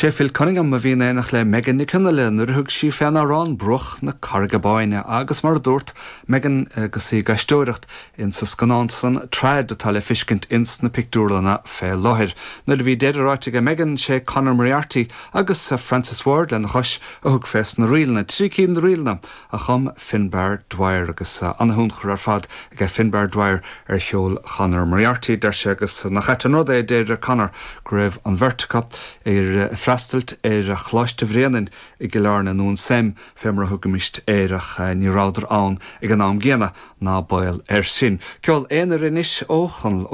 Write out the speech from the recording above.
Sé Phil Cunningham a bhí in éineacht le Megan Nic Fhionnghaile nuair a thug sí fén amhrán Bruach na Carraige Báine agus mar a dúirt Megan agus í ag aisteoireacht ins an scannán san Trad atá le fiscint ins na pictiúrlanna fé láthair. Nuair a bhí deireadh ráite aige Megan, sé Conor Moriarty agus Francis Ward lena chois a thug fés na ríleanna, 3 cinn de ríleanna a chum Finbar Dwyer agus ana-thionchar ar fad aige Finbar Dwyer ar cheol Chonor Moriarty, deir sé agus nach ait an rud é, deir Conor, go raibh an bheirt acu ag freastailt ar Choláiste Bhréanainn i gCill Airne, nó an SEM fé mar a thugaimist air, ach ní rabhadar ann ag an am gcéanna, ná baol air sin. Ceol aonair anois ó Chonall Ó.